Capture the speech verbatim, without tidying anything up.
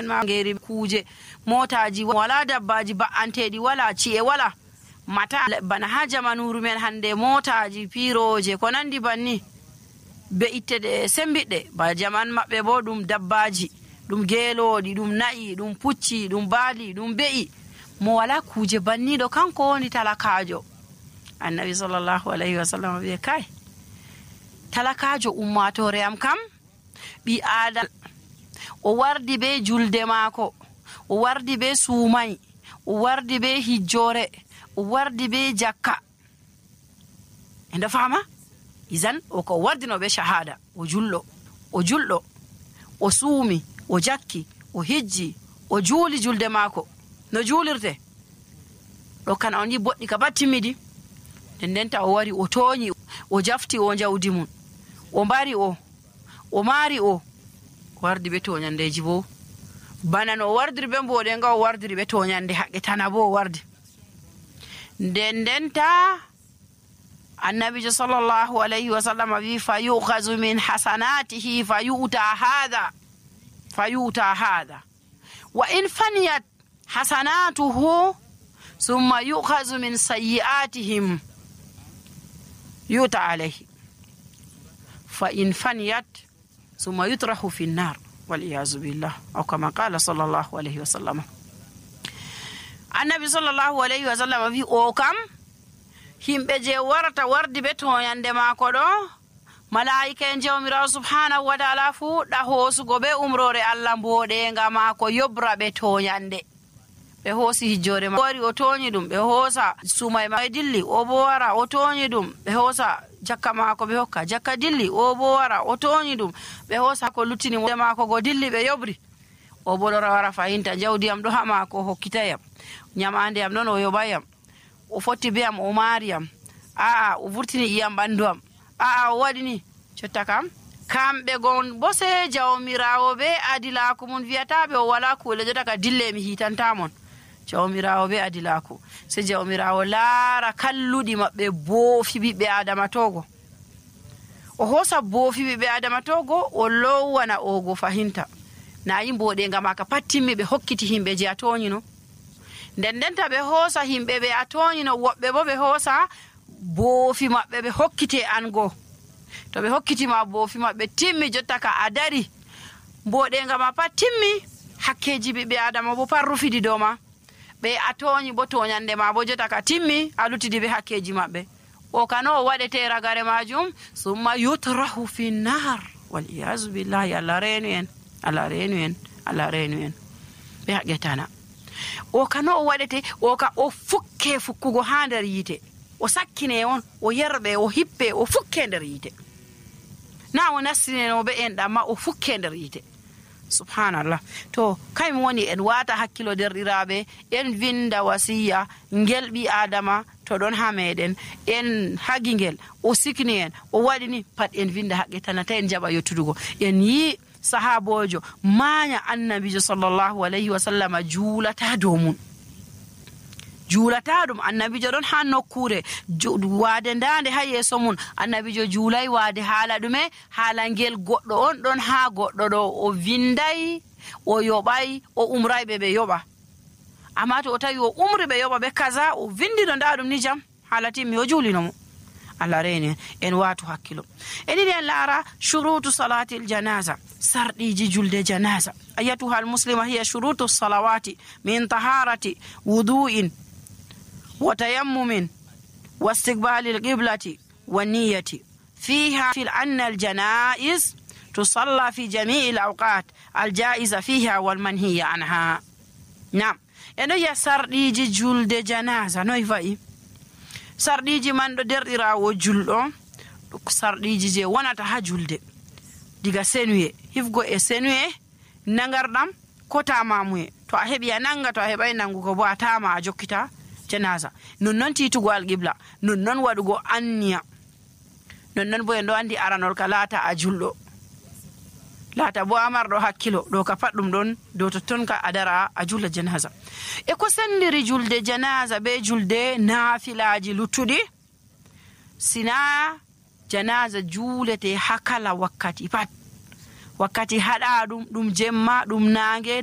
en ma ngeri kuje motaji wala dabbaji ba'anteɗi wala ci'e wala mata bana ha jamanuru men hande motaji piroje ko nandi banni be ittede sembidde ba jaman mabbe bo dum dabbaji dum gelodi dum na'i dum pucci dum baali dum be'i mo wala kuje banni do kanko woni talakajo. Annabi sallallahu alaihi wasallam be kai talakajo ummatore am kam bi adal o wardi be julde maako o wardi be suumay o wardi be hijjore o wardi be jakka enda fama izan o ko wardino be shahada o jullo o jullo o suumi o jakki o hijji o juuli julde maako no juulirte do kan on yi boddi ka batimidi dendenta o wari o toñi o jafti o jawdi mun o mbari o o maari o wardi be toñandeji bo bana no wardiri be mbode nga o wardiri be toñande haqqe tana bo wardi dendenta annabi sallallahu alaihi wasallam wi fayuqazu min hasanatihi fayuta hadha fayuta hadha wa in faniyat hasanatuhu thumma yuqazu min sayyi'atihim yuta alayhi fa in faniyat thumma yutrahu fi an-nar wal iyaz billah aw kama qala sallallahu alayhi wasallam. Annabi sallallahu alayhi wasallam wi o kam himbe je warata wardi be toyande mako do malaika en jawmirawo subhanahu wa ta'ala fu da hosugo be umrore Allah mbode nga mako yobra be toyande be hosi hijjore ma wari o toñi dum be hosa sumay ma dilli o bo wara o toñi dum be hosa jakka mako be hokka jakka dilli o bo wara o toñi dum be hosa ko lutini mo mako go dilli be yobri o bo do wara fahinta jawdi am do ha mako hokkitayam nyamande am non o yobayam o fotti be am o mariyam a a o vurtini iyam bandu am a a o wadi ni cotta kam kambe gon bose jawmirawo be adilako mun viatabe o wala kule jota ka dille mi hitanta mon jawmirawo be adilako se jawmirawo laara kalludi mabbe boofi bibbe adama togo o hosa boofi bibbe adama togo o lowana ogo fahinta na yimbode ngama ka pattimi be hokkiti himbe je atoni no dendenta be hosa himbe be atoni no wobbe bo be hosa boofi mabbe be hokkite ango to be hokkiti ma boofi mabbe timmi jotta ka adari mbode ngama pattimi hakkeji bibbe adama bo parrufidi do ma be atoni bo toñande ma bo jota ka timmi alutidi be hakkeji mabbe o kano wadete ragare majum summa yutrahu fi nar wal iyaz billahi ala renuen ala renuen ala renuen be hagetana o kano wadete o ka o fukke fukkugo ha nder yite o sakkine on o yerbe o hippe o fukke nder yite na o nasine no be en dama o fukke nder yite subhanallah to kay woni en wata hakkilo derdirabe en vinda wasiya ngelbi adama to don ha meden en hagingel o sikni en o wadini pat en vinda haqqe tanata en jaba yottudugo en yi sahabojo manya annabi sallallahu alaihi wasallam julata do mun julata dum annabi don ha nokkure wade ndande ha yeso mun annabi jo julai wade hala dume hala ngel goddo on don ha goddo do o vindai o yobai o umrai be be yoba amma to o tawi o umri be yoba be kaza o vindi do ndadum ni jam halati mi o julino mo Allah rene en watu hakkilo eni den lara shurutu salati aljanaza sardiji julde janaza ayatuha almuslima hiya shurutu salawati min taharati wudu'in وتيمم واستقبال القبلة والنية فيها في أن الجنائز تصلى في جميع الأوقات الجائزة فيها والمنهية عنها. نعم إنه يسرديجي جلد جنازة نويفاي sardiji man do derdirawo juldo sardiji je wonata ha julde diga senuye hifgo e senuye nangardam ko tamamuye to a hebi nanga to a hebay nangugo bo atama a jokkita janaza non non titugo alqibla non non wadugo anniya non non bo en do andi aranol kalata a juldo lata bo amardo hakkilo do ka faddum don do to ton ka adara a julla janaza e ko sendiri julde janaza be julde nafilaji lutudi sina janaza julete hakala wakkati pat wakkati hada dum dum jemma dum nange nange